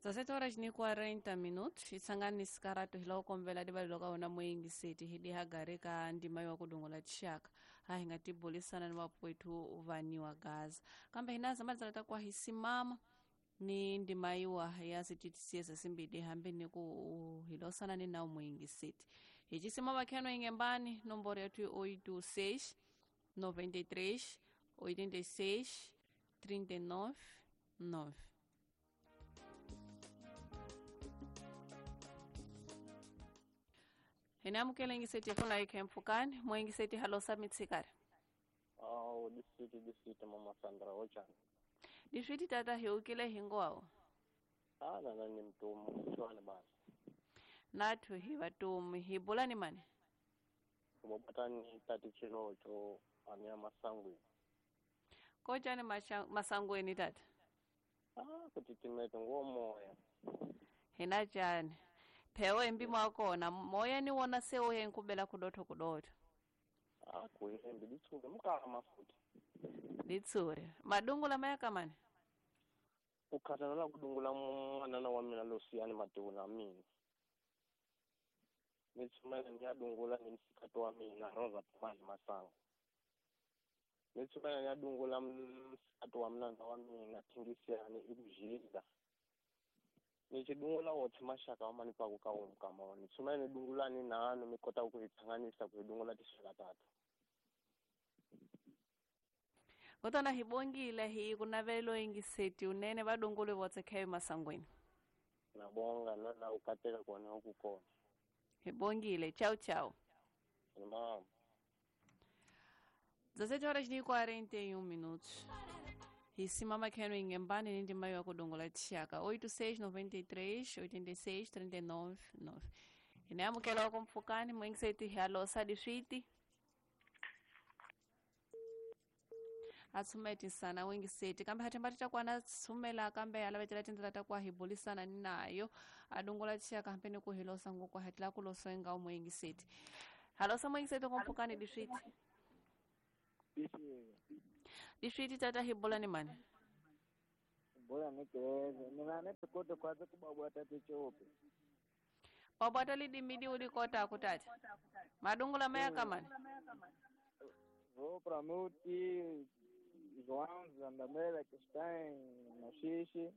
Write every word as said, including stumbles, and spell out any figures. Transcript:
Dezessete horas ni quarenta minutos itsangani sikaratu hila ukombela dibalilo ka wona moyingiseti hidi hagare ka ndima yo kudongola tshaka ha hi nga tibulisana ni vapwethu vaniwa gaza kambe hina zamalizala ta kwa hisimama ni ndima yiwa ya sititisieza simbidi hambi ni ku hilosana ni nawu moyingiseti hi cisimama kheno ingembani nomboro yetu oito seis noventa e três oitenta e seis trinta e nove nove. Hina ingiseti funa ikhempfukani moingiseti halosa mitsikari. Awu disiti disiti mama Sandra ochani. Disiti tata hiukile hingoawo. Ah nana ni mtumu chwana basi. Nathu hi vatumu hi bulani mani. Bobotani tati chilocho ania masangwe. Kochani masangweni tata? Ah kutitimete ngomoya. Hina chani. Phewe embi mwakona moya ni wona se uye nkubela kudotho kudotho. Ah kuembi litsure mukama futhi. Litsure. Madungula mayakamani? Ukhathala kudungula mwana wa mina losiyani maduna mina. Nitsumela ngiyadungula nemsikhathi wa mina Rosa Pamali Masango. Nitsumela ngiyadungula msikhathi wa mina wa mina Thingisiyani ikujida. Nichidungula wothi mashaka wa manipa ku ka umkama nitsumela nidungula ni nano mikota ukuyithanganisa kuyidungula tishaka tatu. Kotona hibongile hi kunavelo ingiseti unene vadungule votse khayo masangweni. Nabonga nana ukateka kona ukukona. Hibongile ciao ciao. Mama. dezessete horas e quarenta e um minutos. Hisimama kheno ingembani ni ndima yo kudongola tshaka oito seis noventa e três oitenta e seis trinta e nove nove. Inamukela kompfukani mwingiseti halosa diswiti. Atsumeti sana wingiseti kambe hathembati takwana tsumela kambe alavetela tindlela ta kwa hibulisana nayo adongola tshaka hampeni ku hilosa ngokwa hatla kulosenga umwingiseti. Halosa mwingiseti kompfukani diswiti. Diswiti tata hibola ni mani? Bola ni keze. Nina neto kote kwaze kubabwata tichope. Babwata lidimidi ulikota akutata. Madungula maya kamani? Vou pra Muti, João, Zandamela, que está em Machixe.